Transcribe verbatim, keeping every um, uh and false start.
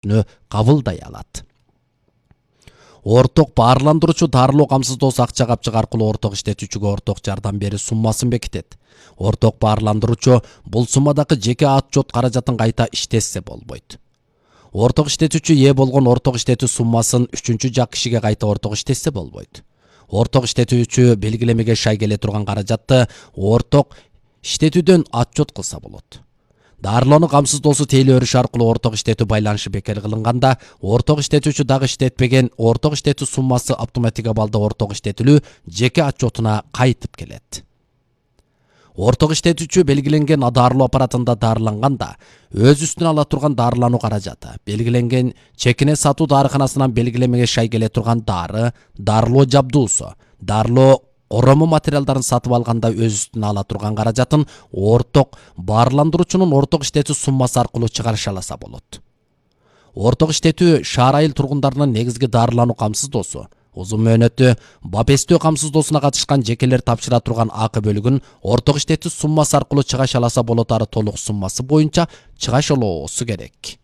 иштетүүнү кабылдай алат. Орток баарландыруучу дарылоо камсыздоосу акча капчык аркылуу орток иштетүүчүгө орток жардам берүү суммасын бекитет. Орток баарландыруучу бул суммадагы жеке отчет каражатын кайта иштетсе болбойт. Орток иштетүүчү ээ болгон орток иштетүү суммасын үчүнчү жак кишиге кайта орток иштетсе болбойт. Орток иштетүүчү белгилемеге шай келе турган каражатты орток иштетүүдөн отчет кылса болот. Дарылоону камсыздоосу тейлөө өрүш аркылуу орток иштетүү байланышы бекер кылынганда, орток иштетүүчү дагы иштетпеген орток иштетүү суммасы автоматик абалда орток иштетүүлүү жеке отчетуна кайтып келет. Орток иштетүүчү белгиленген дарылоо аппаратында дарыланганда, өз үстүнө ала турган дарылануу каражаты, белгиленген чекине сатуу дарыканасынан белгилемеге шай келе турган дары, дарылоо жабдуусу, дарылоо корому материалдарын сатып алганда өз үстүнө ала турган каражатын орток баарландыруучунун орток иштетүү суммасы аркылуу чыгарыша алса болот. Орток иштетүү шаар айыл тургундарынын негизги дарылануу камсыздоосу, узун мөөнөттүү бапестөө камсыздоосуна катышкан жекелер тапшыра турган акы бөлүгүн орток иштетүү суммасы аркылуу чыгаша алса болот, ары толук суммасы боюнча чыгашалоосу керек.